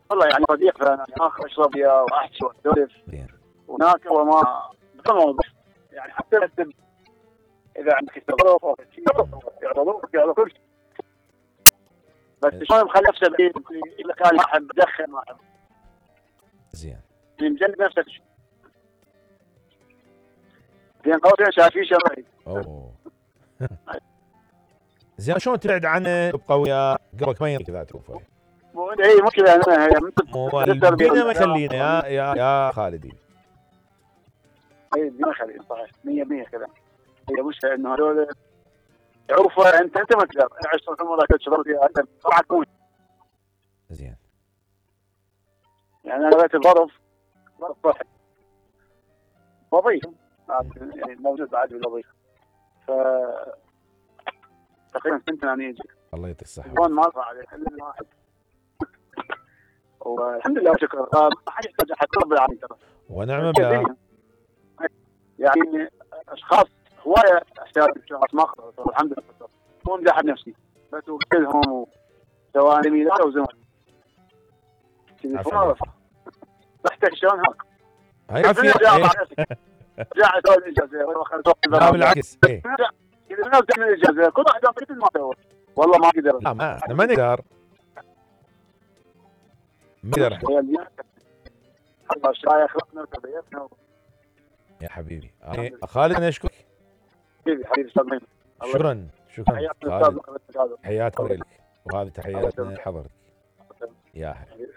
والله يعني صديق فانا اخر اشرب وياه واحكي واسولف زين. وناكل وما بموضوع يعني حتى اذا عندك تصرف او شيء يعرضوك على كل شيء. بس شلون مخلي نفسه بعيد اذا كان واحد بدخن واحد زين. مجنب نفسك بين قوسين شايفين شرايط. اوه زين شلون تبعد عنه تبقى وياه قبلك ما كذا تشوفه؟ اي مو كذا انا هي الدنيا ما يخلينا يا خالدي. اي الدنيا خلينا صحيح 100% كذا. هي مش انه هذول يعرفوا انت ما تقدر عشت طول عمرك تشرب فيها انت طبعا تكون زين. يعني انا بيت الظرف واحد وظيف يعني موجود بعد بالوظيفه ف تقريبا سنتين انا يجي. الله يعطيك الصحه. ما راح عليه الا واحد والحمد لله شكرا. ما حد يحتاج احد رب العالمين ترى ونعم بالله. يعني اشخاص هوايه احتاج اشخاص ما خلص الحمد لله مو مدح نفسي بس وكلهم سواء يمين او زمان تليفون تحتاج شلون هاك هاي عافيه. رجع اسوي الاجازه لا بالعكس اذا الناس تعمل الاجازه كل واحد مثل ما سوى والله ما قدر. لا ما احنا ما نقدر الله شايخ خلقنا وتربيتنا يا حبيبي. خالد انا اشكرك حبيبي استاذ. شكرا خالد. حياتنا لك وهذه تحياتنا حضرتك يا حبيبي.